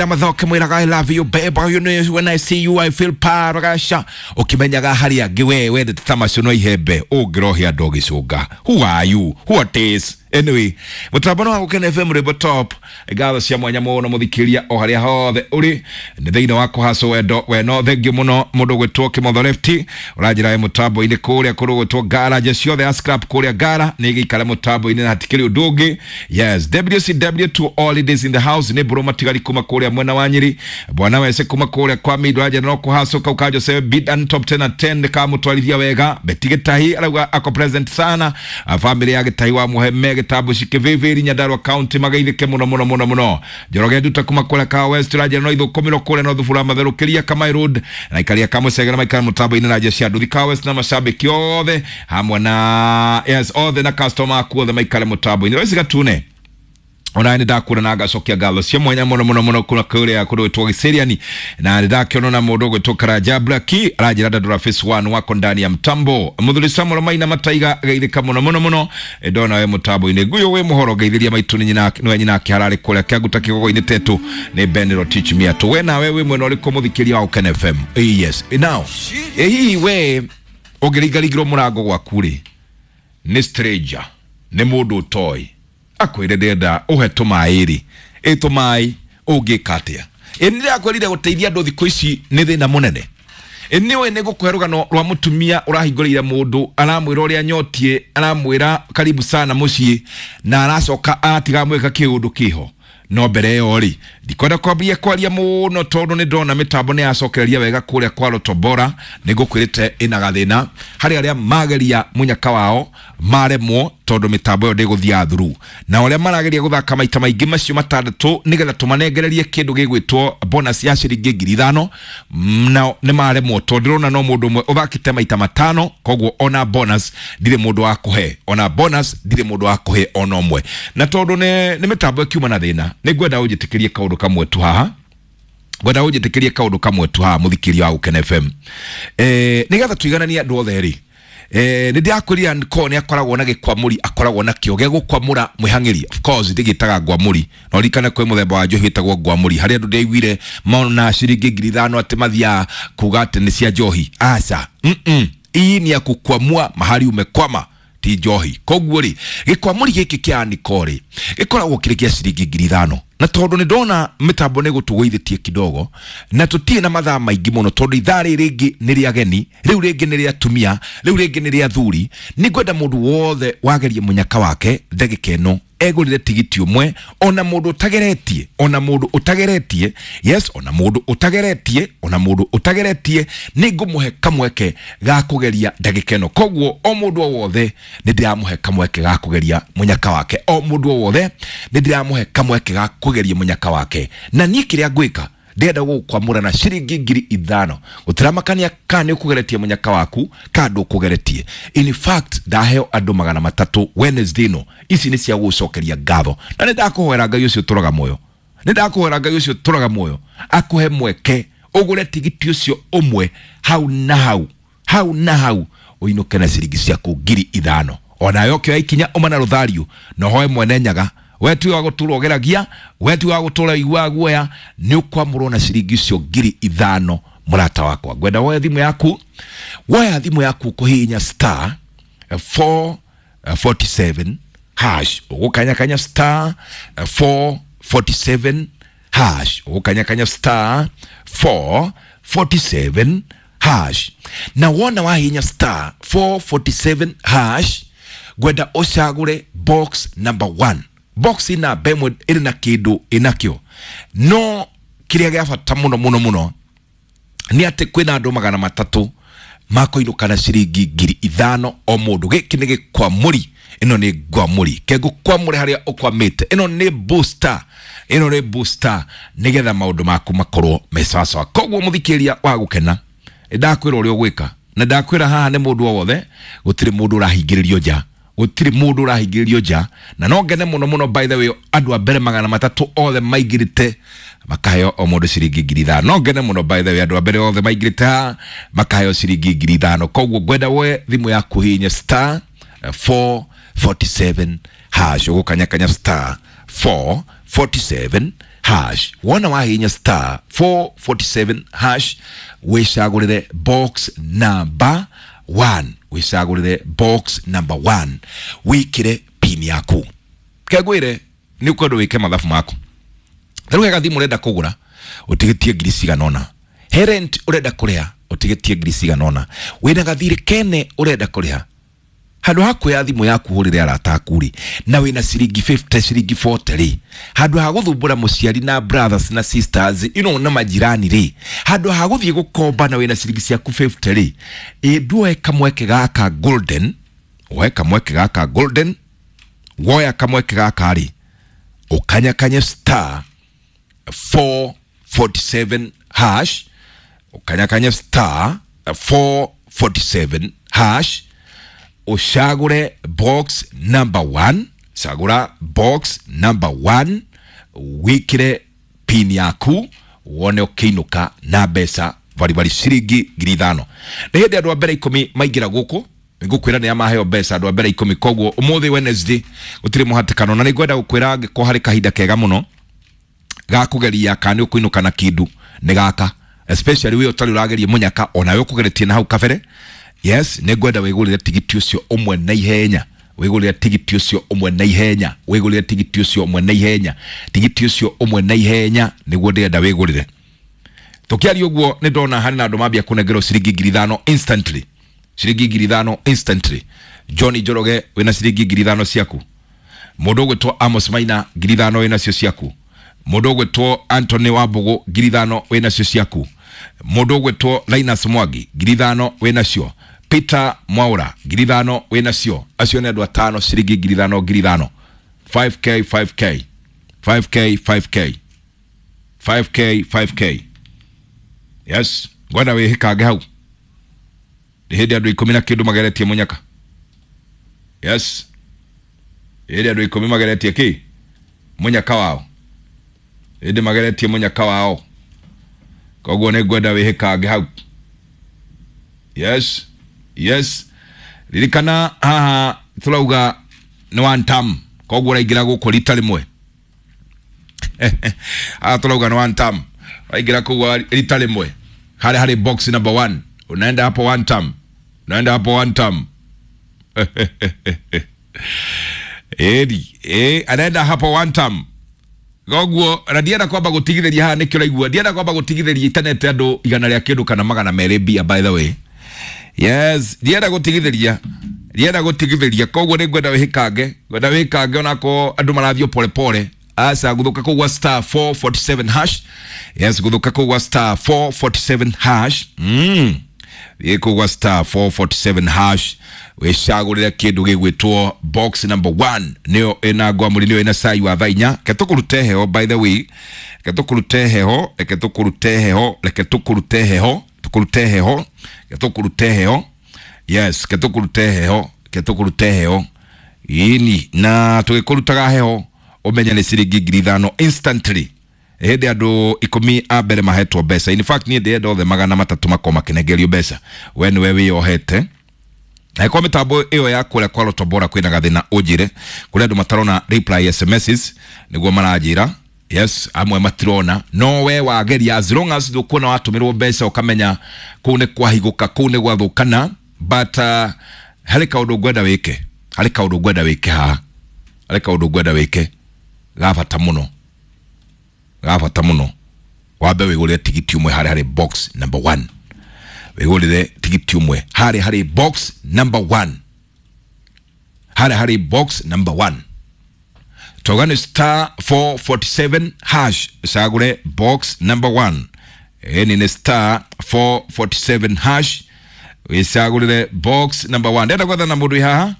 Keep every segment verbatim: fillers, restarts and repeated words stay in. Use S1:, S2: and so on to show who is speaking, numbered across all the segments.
S1: Mathoke mwiraga I love you babe, you know when I see you I feel parasha. Ukimenyaga hari angĩ we wendete ta macio no ihembe ũngĩrohia andũ ũgĩcũnga. Who are you? What is? Anyway, mũtambo wa Gũkena F M rwĩmbo top ngatho cia mwanya mũno mũthikĩria o harĩa hothe ũrĩ nĩ thĩinĩ wa kũhacwo wendo weno. Thengiũ mũno mũndũ gwĩtwo Kĩmotho Lefty ũranjĩra wĩ mũtambo-inĩ kũrĩa kũndũ gwĩtwo Ngara nje ciothe ya scrap kũrĩa Ngara nĩ gĩikare mũtambo-inĩ na hatikĩrĩ ũndũ ũngĩ. Yes, W C W two all ladies in the house nĩ mbũrũ matigari kuma kũrĩa mwena wa Nyĩrĩ, bwana wese kuma kũrĩa kwa Mindo anjĩra no kũhacwo kau ka Jose Bidan top ten na ten nĩkamũtwarithia wega. Beti Gĩtahi arauga ako present sana, family ya Gĩtahi wa Mũheme Gĩtambu cikĩvĩvĩri Nyandarua County magaithĩke mũno mũno mũno mũno. Njoroge Nduta kuma kũrĩa ka West ũranjĩra no ithũkũmĩrwo kũrĩa no thubura matherũkĩria Kamai Road na ikaria Kamũcegera maikara mũtambo-inĩ na njĩra cia nduthi ka West na mashabiki othe hamwe na yes othe na customer aku othe maikare mũtambo-inĩ. Royce Gatune ona nĩ ndakura na ngacokia ngatho cia mwanya mũno mũno mũno kuna kũrĩa kũndũ gwĩtwo Gĩceriani na nĩ ndakĩona na mũndũ ũgwĩtwo Karanja Blaki aranjĩra Dandora Phase one wako ndani ya mtambo. Mũthuri Samuel Maina Mataiga geithĩka mũno mũno mũno ndona we mũtambo-inĩ. Nguyo wĩ mũhoro geithĩria maitũ nĩ nyina nĩwe nyina akĩhararĩ kũrĩa Kĩanguta kĩgogo-inĩ tetũ nĩ Ben Rotich Miatũ. We nawe wĩ mwena ũrĩkũ mũthikĩria wa Gũkena F M? Yes now hihi we ũngĩringaringĩrwo mũrango gwaku rĩ nĩ stranger nĩ mũndũ ũtoĩ akwĩre ndĩrenda ũhe tũmaĩ rĩ ĩ tũmaĩ ũngĩka atĩa? Ĩ nĩndĩrakwĩrire gũteithia andũ thikũ ici nĩ thĩna mũnene. Ĩ nĩũĩ nĩ ngũkũhe rũgano rwa mũtumia ũrahingũrĩire mũndũ aramwĩra ũrĩa nyotie aramwĩra karibu sana mũciĩ na aracoka aratiga mwĩka kĩũndũ kĩho. No mbere ĩyo rĩ ndikwenda kwambia kwaria mũno tondũ nĩ ndona mĩtambo nĩ yacokereria wega kũrĩa kwa Rotobora. Nĩ ngũkwĩrĩte ĩna gathĩna harĩ arĩa mageria mũnyaka wao maremwo tondũ mĩtambo ĩyo ndĩgũthiaga through, na arĩa marageria gũthaka maita maingĩ macio matandatũ nĩgetha tũmanengererie kĩndũ gĩgwĩtwo bonus ya ciringi ngiri ithano nao nĩ maremwo tondũ ndĩrona no mũndũ ũmwe ũthakĩte maita matano, koguo ona bonus ndirĩ mũndũ wa kũhe, ona bonus ndirĩ mũndũ wa kũhe ona ũmwe. Na tondũ nĩ nĩ mĩtambo ĩkiuma na thĩna nĩ ngwenda ũnjĩtĩkĩrie kaũndũ kamwe tu haha, ngwenda ũnjĩtĩkĩrie kaũndũ kamwe tu haha mũthikĩria wa Gũkena F M eh nĩgetha tũigananie andũ othe rĩ. Eh nĩ ndĩrakwĩrire ko nĩ akoragwo na gĩkwamũri akoragwo nakĩo gĩa gũkwamũra mwĩhang'ĩri. Of course ndĩgĩtaga ngwamũri no ririkane kwĩ mũthemba wa njohi wĩtagwo ngwamũri harĩa andũ ndĩaiguire mona ciringi ngiri ithano atĩ mathiaga kuga atĩ nĩ cia njohi. Aca, mm hii ni ya kukwamua mahali umekwama ti njohi. Koguo rĩ gĩkwamũri gĩkĩ kĩa Aniko rĩ gĩkoragwo kĩrĩ kĩa ciringi ngiri ithano na tondũ nĩ ndona mĩtambo nĩ gũtũgũithĩtie kidogo na tũtirĩ na mathaa maingĩ mũno tondũ ithaa rĩrĩ rĩngĩ nĩ rĩa ageni, rĩu rĩngĩ nĩ rĩa atumia, rĩu rĩngĩ nĩ rĩa athuri. Nĩ ngwenda mũndũ wothe wagerie mũnyaka wake ndagĩka ĩno egũrĩre tigiti ũmwe ona mũndũ ũtageretie ona mũndũ ũtageretie yes ona mũndũ ũtageretie ona mũndũ ũtageretie nĩ ngũmũhe kamweke ga kũgeria ndagĩka ĩno. Koguo o mũndũ o wothe nĩ ndĩramũhe kamweke ga kũgeria mũnyaka wake, o mũndũ o wothe nĩ ndĩramũhe kamweke ga kũgeria mũnyaka wake. Na niĩ kĩrĩa ngwĩka ndĩrenda gũkwamũra na ciringi ngiri ithano gũtiramakania kana nĩ ũkũgeretie mũnyaka waku kana ndũkũgeretie. In fact ndaheo andũ magana matatũ Wednesday ĩno ici nĩ cia gũcokeria ngatho na nĩ ndakũhoera Ngai ũcio ũtũraga muoyo, nĩ ndakũhoera Ngai ũcio ũtũraga muoyo akũhe mweke ũgũre tigiti ũcio ũmwe hau na hau hau na hau ũinũke na ciringi ciaku ngiri ithano. Onawe ũkĩoya ikinya ũma na rũthario na ũhoe mwene Nyaga we ti wa gũtũra ũgeragia, we ti wa gũtũra ũiguaga guoya, nĩ ũkwamũrwo na ciringi icio ngiri ithano mũrata wakwa. Ngwenda woe thimũ yaku, woya thimũ yaku kũhihinya star four forty seven hash ũgũkanyakanya star four forty seven hash ũgũkanyakanya star four forty seven hash na wona wahihinya star four forty seven hash ngwenda ũcagũre box number one. Box ina bemwe ĩrĩ na kĩndũ ĩnakĩo no kĩrĩa gĩa bata mũno mũno mũno nĩ atĩ kwĩna andũ magana matatũ makoinũka na ciringi ngiri ithano o mũndũ. Gĩkĩ nĩ gĩkwamũri, ĩno nĩ ngwamũri ke ngũkwamũre harĩa ũkwamĩte, ĩno nĩ booster, ĩno nĩ booster nĩgetha maũndũ maku makorwo me sawasawa. Koguo mũthikĩria wa Gũkena ndakwĩra ũrĩa ũgwĩka na ndakwĩra haha nĩ mũndũ o wothe, gũtirĩ mũndũ ũrahingĩrĩrio nja, gũtirĩ mũndũ ũrahingĩrĩrio nja. Na no ngene mũno mũno by the way andũ a mbere magana matatũ othe maingĩrĩte makaheo o mũndũ ciringi ngiri ithano. No ngene mũno by the way andũ a mbere othe maingĩrĩte haha makaheo ciringi ngiri ithano. Koguo ngwenda woe thimũ yaku hihinye star four forty seven hash ũgũkanyakanya star four forty seven hash. Wona wahihinya star four forty-seven hash wicagurire box number one, wicagurire box number one, wikire pin yaku. Kegwire ni ukwenda wike mathabu maku. Riu he gathimu urenda kugura utigitie ngiri cigana ona, he rent urenda kuriha utigitie ngiri cigana ona, wina gathiri kene urenda kuriha, handu ha kuoya thimu yaku hurire arata aku ri na wina ciringi fifty ciringi forty ri, handu ha guthumbura muciari na brothers na sisters you know na majirani ri, handu ha guthie gukomba na wina ciringi ciaku fifty ri, ĩ nduoe kamweke gaka golden, woe kamweke gaka golden, woya kamweke gaka ri ukanyakanye star four forty-seven hash, ukanyakanye star four forty-seven hash, ushagure box number one, shagura box number one, wikire pin yaku wone ukiinuka na mbeca baribari ciringi ngiri ithano. Nĩ hĩndĩ andũ a mbere ikũmi maingĩra gũkũ ngũkwĩra nĩ amaheo mbeca andũ a mbere ikũmi, koguo ũmũthĩ Wednesday gũtirĩ mũhatĩkano, na nĩngwenda gũkwĩra angĩkorwo harĩ kahinda kega mũno ga kũgeria kana nĩ ũkũinũka na kĩndũ nĩ gaka, especially we ũtarĩ ũrageria mũnyaka onawe ũkũgeretie na hau kabere. Yes, nĩngwenda wĩgũrĩre tigiti ũcio ũmwe na ihenya, wĩgũrĩre tigiti ũcio ũmwe na ihenya, wĩgũrĩre tigiti ũcio ũmwe na ihenya, tigiti ũcio ũmwe na ihenya nĩguo ndĩrenda wĩgũrĩre. Tũkĩaria ũguo nĩ ndona harĩ na andũ mambia kũnengerwo ciringi ngiri ithano instantly, ciringi ngiri ithano instantly. John Njoroge wĩna ciringi ngiri ithano ciaku, mũndũ ũgwĩtwo Amos Maina ngiri ithano wĩnacio ciaku, mũndũ ũgwĩtwo Anthony Wambũgũ ngiri ithano wĩnacio ciaku, mũndũ ũgwĩtwo Linus Mwangi ngiri ithano wĩnacio, Peter Mwaura ngiri ithano wĩnacio. Acio nĩ andũ atano ciringi ngiri ithano ngiri ithano, five K five K five K five K five K five K. Yes, ngwenda wĩhĩkange hau. Nĩ hĩndĩ andũ ikũmi na kĩndũ mageretie mũnyaka. Yes, hĩndĩ andũ ikũmi mageretie kĩ mũnyaka wao, hĩndĩ mageretie mũnyaka wao, koguo nĩ ngwenda wĩhĩkange hau. Yes, yes, ririkana haha turauga nĩ one term, koguo ũraingĩra gũkũ rita rĩmwe. Haha turauga nĩ one term, ũraingĩra kũu rita rĩmwe harĩa harĩ box number one, unaenda hapo one term, unaenda hapo one term. Eri, eh, anaenda hapo one term. Koguo na ndienda kwamba gutigithĩria haha nĩkĩo ũraigua, ndienda kwamba gutigithĩria itanete andũ igana rĩa kĩndũ kana magana merĩ mbia, by the way. Yes, ndienda gutigithĩria, ndienda gutigithĩria, koguo nĩ ngwenda wĩhĩkange, ngwenda wĩhĩkange onakorwo andũ marathiĩ pole pole. Asa guthuka kũgwa star four forty-seven hash. Yes, guthuka kũgwa star four forty-seven hash. Mm. Thiĩ kũgwa star four forty-seven hash wĩcagũrĩre kĩndũ gĩgwĩtwo box number one, nĩyo ĩna ngwamũri, nĩyo ĩna cai wa thaa inya. Reke tũkũrute heho, by the way, reke tũkũrute heho, reke tũkũrute heho, reke tũkũrute heho, tũkũrute heho, reke tũkũrute heho. Yes, reke tũkũrute heho, reke tũkũrute heho. Ĩni na tũgĩkũrutaga heho ũmenye nĩ ciringi ngiri ithano instantly. Hĩndĩ andũ ikũmi a mbere mahetwo mbeca. In fact niĩ ndĩrenda othe magana matatũ makorwo makĩnengerio mbeca, we nĩwe wĩyohete. Na kwa mitambo ĩyo ya kũrĩa kwa Lotto Bora kwĩna gathĩna ũnjĩre, kũrĩ andũ matarona reply S M Ss nĩguo maranjĩra. Yes, amwe matirona, no we wageria as long as ndũkuona watũmĩrwo mbeca ũkamenya kũu nĩ kwahigũka, kũu nĩ gwathũkana. But uh, harĩ kaũndũ ngwenda wĩke, harĩ kaũndũ ngwenda wĩke haha, harĩ kaũndũ ngwenda wĩke ga bata mũno, ga bata mũno. Wambe wĩgũrĩre tigiti ũmwe harĩa harĩ box number one, wĩgũrĩre tigiti ũmwe harĩa harĩ box number one, harĩa harĩ box number one. Tauga nĩ star four forty-seven hash, cagũre box number one. Ĩni nĩ star four forty-seven hash, wĩcagũrĩre box number one. Ndĩrenda gwethana mũndũ wĩ haha.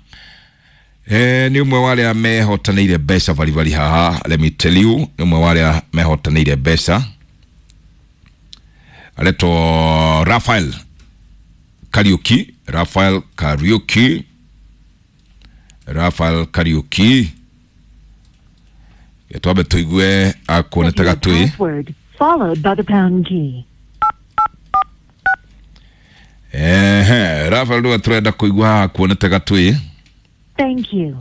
S1: Eh, nĩ ũmwe wa arĩa mehotanĩire mbeca baribari haha, let me tell you, nĩ ũmwe wa arĩa mehotanĩire mbeca, aretwo Raphael Kariuki, Raphael Kariuki, Raphael Kariuki. Twambe tũigue akuonete gatui.
S2: Followed by the pound key.
S1: Ehe, Raphael ndũga tũrenda kũigua haha akuonete gatui.
S2: Thank you.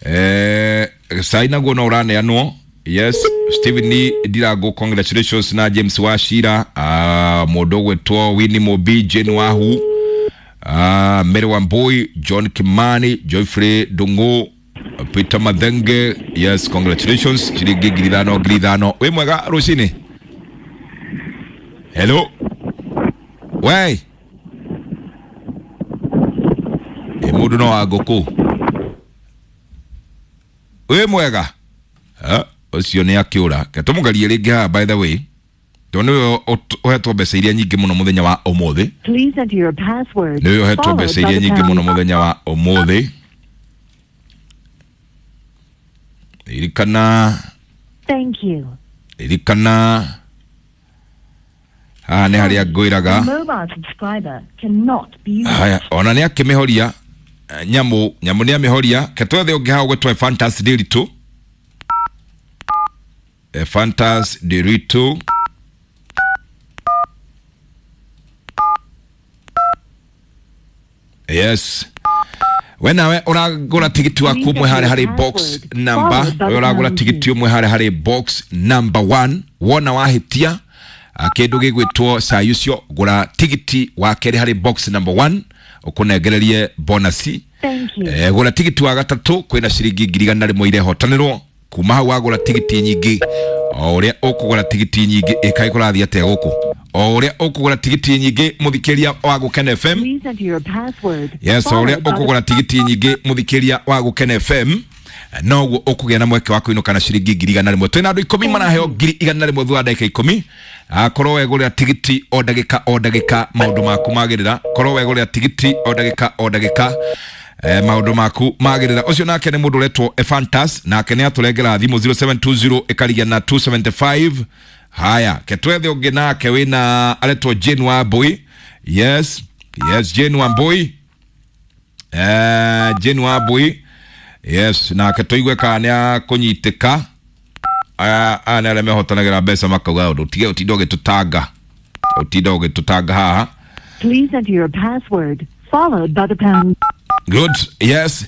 S1: Eh, cai naguo no ũraneanwo Yes, Stephen ni Ndirango, congratulations na James Wachira, uh, mũndũ ũgwĩtwo Winnie Mobi, Jane Wahu, uh, Mary Wambui, John Kimani, Geoffrey Ndung'u, Peter Mathenge. Yes, congratulations, ciringi ngiri ithano ngiri ithano. Wĩ mwega rũcinĩ. Hello. We ĩ mũndũ no wa ngũkũ. Wĩ mwega. Ah, ũcio nĩ akĩũra. Ke tũmũgerie rĩngĩ haha, by the way, tondũ nĩwe ũhetwo mbeca iria nyingĩ mũno mũthenya wa ũmũthĩ.
S2: Please enter your password.
S1: Nĩwe ũhetwo
S2: followed
S1: mbeca
S2: by
S1: iria
S2: the
S1: nyingĩ mũno
S2: pound.
S1: Mũthenya wa ũmũthĩ. Ririkana.
S2: Thank you.
S1: Ririkana, haha nĩ harĩa ngwĩraga.
S2: Mobile subscriber cannot be
S1: Haya, ona nĩ akĩmĩhoria. eh, nyamũ nyamũ nĩ amĩhoria. Ke twethe ũngĩ haha ũgwĩtwo Fantas Ndiritu. Eh, Fantas Ndiritu. Yes, we nawe ũragũra tigiti waku ũmwe harĩa harĩ box number, we ũragũra tigiti ũmwe harĩa harĩ box number one. Wona wahĩtia, ah, kĩndũ gĩgwĩtwo cai ũcio, gũra tigiti wa kerĩ harĩ box number one ũkũnengererie bonasi.
S2: Thank you.
S1: Eh, gũra tigiti wa gatatũ, kwĩna ciringi ngiri igana rĩmwe irehotanĩrwo kuma hau. Wagũra tigiti nyingĩ, o ũrĩa ũkũgũra tigiti nyingĩ, ĩkaĩ kũrathiĩ atĩa gũkũ? O ũrĩa ũkũgũra tigiti nyingĩ, mũthikĩria wa Gũkena F M.
S2: Please enter your password.
S1: Yes, o ũrĩa
S2: followed by the
S1: ũkũgũra tigiti nyingĩ, mũthikĩria wa Gũkena F M, noguo ũkũgĩa na mweke wa kũinũka na ciringi ngiri igana rĩmwe. Twĩna andũ ikũmi maraheo ngiri igana rĩmwe thutha wa ndagĩka ikũmi. Akorwo wegũrĩra tigiti o ndagĩka o ndagĩka, maũndũ maku magĩrĩra. Korwo wegũrĩra tigiti o ndagĩka o ndagĩka, eh, maũndũ maku magĩrĩra. Ũcio nake nĩ mũndũ ũretwo Efantas, nake nĩ atũrengera thimũ zero seven two zero ĩkarigia na two seven five. Haya, ketwethe ũngĩ nake wĩna aretwo Jane Wambui. Yes, yes, Jane Wambui. Eh, Jane Wambui, yes, nake tũigue kana nĩ akũnyitĩka. Aya aya nĩ arĩa mehotanagĩra mbeca makauga ũndũ tige ũtinda ũgĩtũtanga, ũtinda ũgĩtũtanga haha.
S2: Please enter your password followed by the pound.
S1: Good, yes,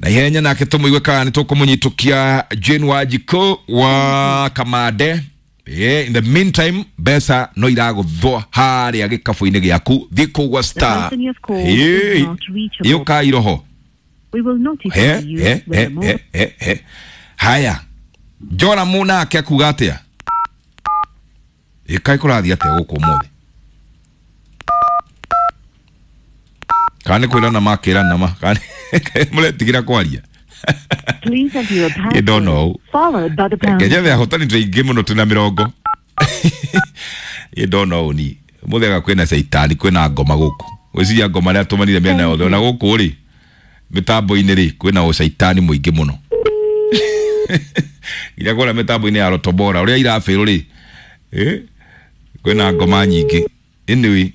S1: na ihenya nake tũmũigue kana nĩ tũkũmũnyitũkia Jane Wanjikũ wa Kamande. Yeah, in the meantime mbeca no iragũthwo harĩa gĩkabũ-inĩ gĩaku. Thiĩ kũgwa star.
S2: Person you have called is not reachable.
S1: Yũka iroho.
S2: We will notify
S1: he
S2: you
S1: he
S2: when
S1: he
S2: the mobile
S1: he he he Haya, Joramu nake akuga atĩa? Ĩkaĩ kũrathiĩ atĩa gũkũ ũmũthĩ? Kana nĩ kwĩrana makĩrana ma kana mũretigĩra kwaria?
S2: Please enter your
S1: You don't
S2: password
S1: know.
S2: followed by the pound.
S1: Ngenyethe ahotani twĩ aingĩ mũno, twĩna mĩrongo. You don't know ni mũthega kwĩna caitani, kwĩna ngoma gũkũ. Gwĩciria ngoma rĩa tũmanire mĩena yothe, ona gũkũ rĩ mĩtambo-inĩ rĩ kwĩna ũcaitani mũingĩ mũno, nginya kũrĩa mĩtambo-inĩ ya Rotobora ũrĩa irabĩrũ rĩ, eh, kwĩna ngoma nyingĩ. Anyway,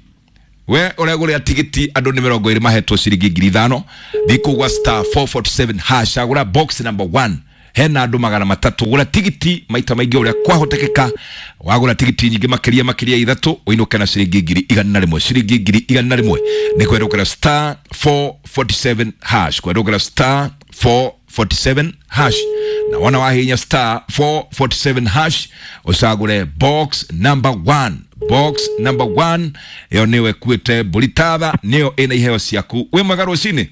S1: we ũregũrĩra tigiti, andũ nĩ mĩrongo ĩrĩ mahetwo ciringi ngiri ithano. Thiĩ kũgwa star four four seven hash, agũra box number one, hena andũ magana matatũ. Gũra tigiti maita maingĩ ũrĩa kwahotekeka. Wagũra tigiti nyingĩ makĩria makĩria ithatũ, ũinũke na ciringi ngiri igana rĩmwe. Ciringi ngiri igana rĩmwe nĩ kwerũkĩra star four four seven hash, kwerũkĩra star four four seven hash. Na wona wahinya star four four seven hash, ũcagũre box number one. Box number one ĩyo nĩwe kuĩte mbũri tatha, nĩyo ĩna iheo ciaku. Wĩ mwega rũcinĩ.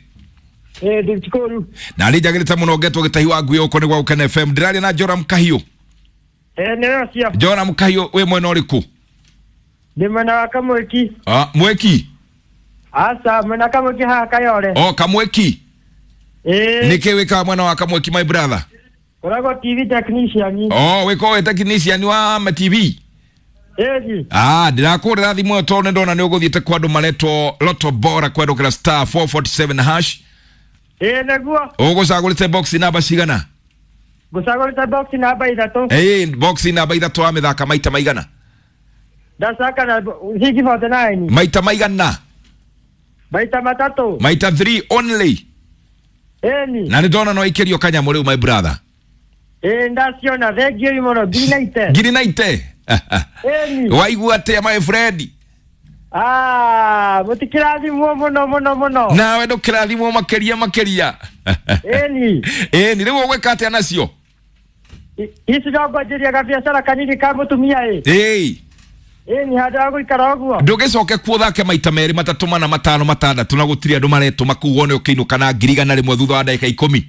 S3: Eh, ndikuru.
S1: Na nĩ njagĩrĩte mũno ngetwo gĩtahi wa ngui ũko nĩ gwa Gũkena F M. Ndĩraria na Joram Kahiũ?
S3: Eh, nĩyo cio.
S1: Joram Kahiũ, wĩ mwena ũrĩkũ?
S3: Ndĩ mwena wa Kamweki.
S1: Ah, Mweki?
S3: Aca, mwena Kamweki haha Kayore.
S1: O Kamweki?
S3: Eh.
S1: Nĩkĩ wĩkaga mwena wa Kamweki, my brother?
S3: Koragwo T V technician.
S1: Oh, wĩkorwo wĩ technician wa ma T V?
S3: Ĩĩ.
S1: Ah, ndĩrakũrĩra thimũ ĩyo tondũ nĩndona nĩ ũgũthiĩte kwa andũ maretwo Loto Bora kwendũkĩra star four four seven hash.
S3: Ĩĩ, nĩguo.
S1: Ũgũcagũrĩte box namba cigana?
S3: Ngũcagũrĩte box namba ithatũ.
S1: Ĩĩ, box namba ithatũ, wa mĩthaka maita maigana?
S3: Ndacaka na six forty nine.
S1: Maita maigana?
S3: Maita matatũ.
S1: Maita three only?
S3: Ĩni.
S1: Na nĩ ndona no ikĩrio kanyamũ rĩu, my brother.
S3: Ĩĩ, ndaciona, thengiũ mũno, ngiri na ite.
S1: Ngiri na ite.
S3: Ĩni.
S1: Waigua atĩa, my friend?
S3: Ah, mũtikĩrathimwo mũno mũno mũno.
S1: Nawe ndũkĩrathimwo makĩria makĩria.
S3: Ĩni.
S1: Ĩni, rĩu ũgwĩka atĩa nacio?
S3: Ici no ngwanjĩria gabiacara kanini ka mũtumia ĩ.
S1: Ĩĩ.
S3: Ĩ ni handũ ha gũikara ũguo.
S1: Ndũgĩcoke kuo thake maita merĩ matatũ mana matano matandatũ na gũtirĩ andũ maretũma kũu wone ũkĩinũka na ngiri igana rĩmwe thutha wa ndagĩka ikũmi.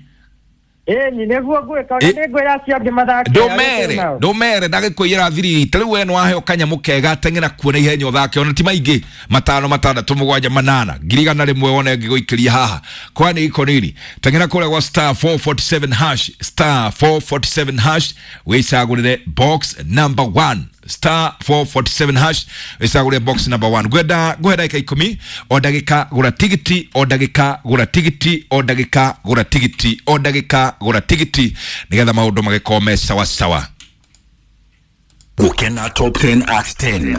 S3: Ĩ ni nĩguo ngwĩka, ona
S1: Ĩ.
S3: nĩngwĩra acio angĩ mathake.
S1: Ndũmere ndũmere ndagĩkũiyĩra thiri. Ta rĩu we nĩwaheo kanyamũ kega, teng'era kuo na ihenya ũthake ona ti maingĩ, matano matandatũ mũgwanja manana, ngiri igana rĩmwe wone ngĩgũikĩria haha kwani iko nini. Teng'era kũrĩa gwa star four forty-seven hash, star four forty-seven hash, wĩcagũrĩre box number one, star four forty-seven hash, wĩcagũrĩre box number one. Ngwenda ngũhe ndagĩka ikũmi, o ndagĩka gũra tigiti, o ndagĩka gũra tigiti, o ndagĩka gũra tigiti, o ndagĩka gũra tigiti, nĩgetha maũndũ magĩkorwo me sawa sawa.
S4: Gukena Top ten at ten.